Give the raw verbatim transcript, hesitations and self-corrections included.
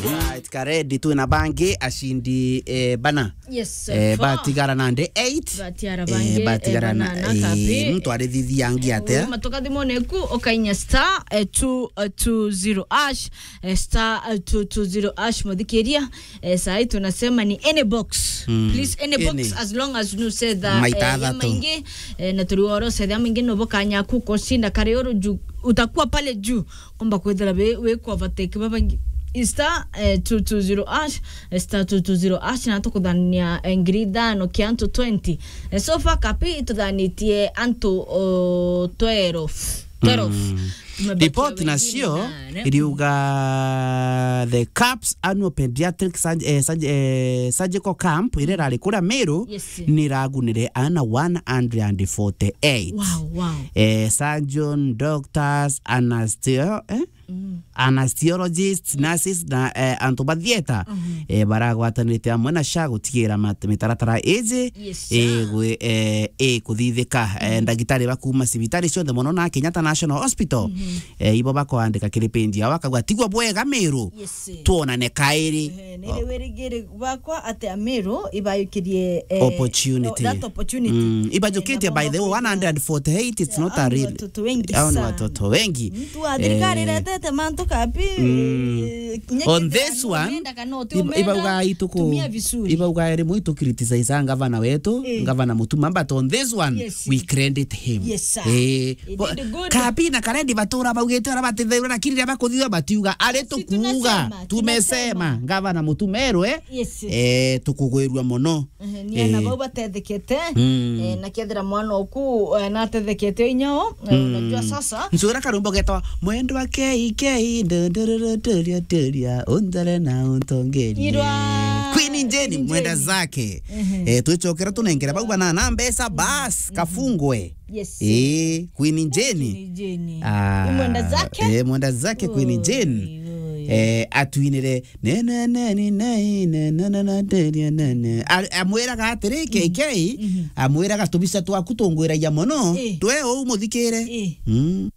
Right, ka ready, twina bangi acindi, eh, bana. Yes, eh, four. Batigara nandi eight. Batiara eh, bangi, batigara eh, na, bana na eh, kapi. Muntu arithithia angi atia? Uma tukathimone ku, ukainya star, eh, two, eh, two zero hash, eh, star, eh, two two zero hash, muthikiria. Eh, sahi tunasema ni any box. Mm. Please, any box, any. As long as you say that, eh, maita ya athatu. Maingi, eh, na turi oro se ya maingi no bokanya ku kushinda kare oro juu, utakuwa pale juu. Komba kwithira wi, wi ku overtake babangi. Star, eh, two two zero hash, eh, star two two zero hash, na tukuthania, eh, ngiri ithano kia antu twenty. Eh, so far kapi tuthanitie antu, oh, twelve. Twelve. Mm. Tumebakia report wengine nacio nane. Iriuga the caps annual pediatric surg-, eh, surg-, eh, surgical camp iria irari kuria Meru. Yes. Ni iragunire ana one hundred and forty-eight. Wow, wow. Eh, surgeon, doctors, anesthetio-, eh? Mm. Anesthesiologists, nurses na, eh, antu ba theatre, mhm, eh, baragwatanirite amwe na SHA gutigira mat-, mitaratara iji, yes, sir, igwi-, eh, ikuthithika. Eh, mm, ndagitari ba kuuma cibitari cionthe mono na Kenyatta National Hospital, mhm, eh, ibo bakwandika kiri page yao, bakauga, "Tigwa bwega Meru, yes, sir, twonane kairi." Eh, niri wirigiri bwakwa ati Ameru ibayukirie, eh, opportunity. That opportunity. Mm, ibajukitie, eh, by the way, one hundred forty-eight, it's not a real. Hao ni watoto wengi sana. Hao ni watoto wengi. Mtu wa thirikari, eh, retete mantu kapi, mm, eh, on this one, iba-, ibauga ituku-, tumia vizuri. Ibauga iri mwitu criticize gavana wetu, eh, gavana Mutuma, but on this one, yes, we credit him. Yes, sir. Eh, he did good. Kapi na Karendi batura baugite ara batithairwe, lakini riria bakuthithua batiuga, ari si tukuuga, tunasema, tumesema, tunasema. Gavana Mutuma erwe, yes, yes, eh, tukugwirua mono. Ehe, ni ana, eh, bau batethekete, mm, eh, na kethira mwana oku, eh, natethekete inyao, eh, mm, unajua sasa. Ncura karumbo getwa, "Mwendwa K K, ndondororo turia turia, untare na untongerie." Irwa Queen Jane, Queen Jane. Mwenda zake. Ehe. Eh, twicokera tunengera bau banana mbeca, bas, mhm, kafungwe. Yes. Eh, Queen Jane. Queen Jane. Ah, mwenda zake? Eh, mwenda zake Queen Jane. Oi, oi. Eh, atwinire, "Ne, ne, ne, ni, ne, ne, ne, ne, ne, ne, ne, ne." A-, amwiraga atiri, K K, mhm, amwiraga, "Tubica twaku tungwiragia mono, eh, twe uu muthikire." Eh. Mm.